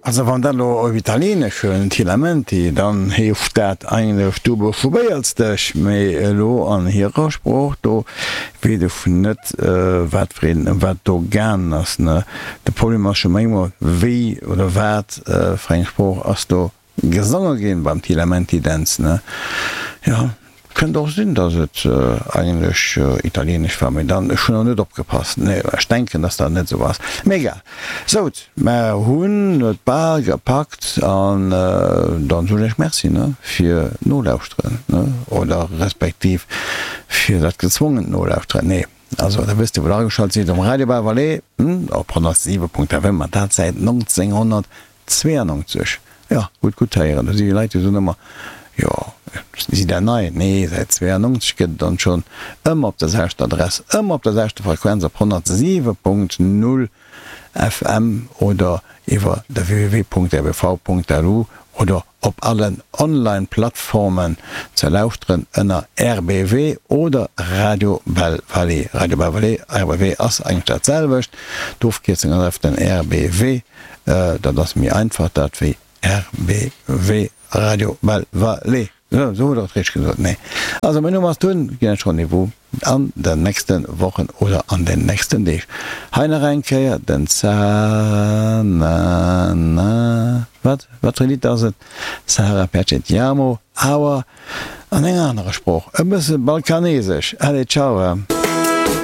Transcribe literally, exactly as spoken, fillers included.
Also wann dat elo op Italieenesch huelen, Ti lamenti, dann heescht dat eigentlech du beschwéiers dech, mee elo an hirer Sprooch, do weess ech net, wat fir een, ëm wat do gaangen ass, ne. De Problem ass scho méi emol, wéi oder wat fir eng Sprooch ass do gesonge ginn beim Ti lamenti Dänz, ne. Jo. Kënnt och sinn, dass et eigentlech italieenesch war, mee dann, ech hunn och net opgepasst. Nee, ech denken, dass dat net esou ass. Mee egal. Sout, mer hunn et bal gepackt an dann soen ech Merci, ne, fir d'Nolauschteren, ne, oder respektiv fir dat gezwongent Nolauschteren. Nee, also da wësst Dir, wou Der ageschalt sidd, um Radio Bas-Valais, op honnertsiwe Punkt F M, an dat säit nonzénghonnertzwéianneunzeg zweeannonzeg, jo, gutt, gutt héieren. Do si Leit, déi soen ëmmer, jo, si der nei? Nee, säit zweeannonzeg gëtt et dann schonn, ëmmer op der selwechter Adress, ëmmer op der selwechter Frequenz, op honnertsiwe Punkt null F M oder iwwer de w w w Punkt r b v Punkt l u oder op allen Online-Plattformen ze lauschteren ënner R B W oder Radio Belle Vallée. Radio Belle Vallée, R B W ass eigentlech dat selwecht, d'Ofkierzung ass einfach den R B W, dat ass méi einfach dat wéi R B W, Radio Belle Vallée. Sou, sou hutt der et richteg gesot. Nee. Also mäin Numm ass Tun, ginn ech Rendez-vous an den nächste Wochen oder an den nächsten Deeg. Hei nach eng Kéier den Sa na na wat? Wat fir e Lidd ass et? Sahara Perché ti amo, awer an enger anerer Sprooch, e bësse balkanesesch. Allez, ciao!